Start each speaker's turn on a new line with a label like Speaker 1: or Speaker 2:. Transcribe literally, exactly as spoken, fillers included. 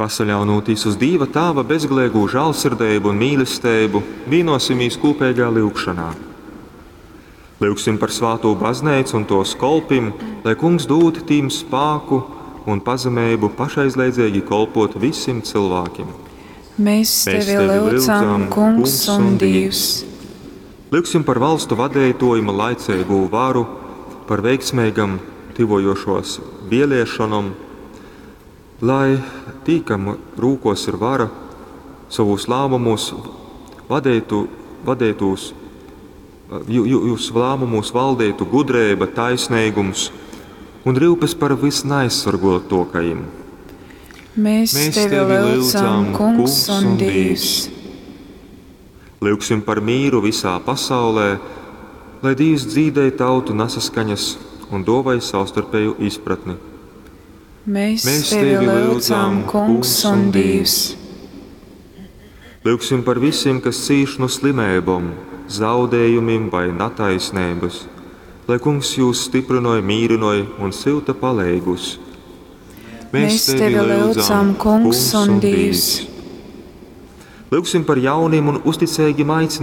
Speaker 1: Pasaļaunūtīs uz Dīva Tāva bezgaleigū žālsirdeibu un mīlesteibu, vīnosimīs kūpeigā lyugšonā. Lyugsim par svātū bazneicu un tōs kolpim, lai Kungs dūd tīm spāku un pazemeibu pašaizliedzeigi kolpot vysim cylvākim.
Speaker 2: Mēs
Speaker 1: Mēs
Speaker 2: tevi lyudzam, Kungs un Dīvs.
Speaker 1: Lyugsim par valstu vadeituojim un laiceigū varu, par veiksmeigom tyvojošuos vieliešonom, lai tī, kam rūkuos ir vara, sovūs lāmumūs vadeitu, vadeitūs, jū, jū, jūs lāmumūs valdeitu gudreiba, taisneigums un ryupes par visneaizsorguotuokajim.
Speaker 2: Mēs, Mēs tevi lyudzam, Kungs un Dīvs.
Speaker 1: Lyugsim par mīru visā pasaulē, lai Dīvs dzīdej tautu nasaskaņas un duovoj savstarpēju izpratni.
Speaker 2: Mēs, Mēs tevi lyudzam, Kungs un Dīvs.
Speaker 1: Lyugsim par visiem, kas cīš no slimībām, zaudējumiem vai nataisnības, lai Kungs jūs stiprinoja, mīrinoja un syuta paleigus.
Speaker 2: Mēs tevi lyudzam, Kungs un Dīvs.
Speaker 1: Lyugsim par jauniem un uzticīgiem aicinājumiem.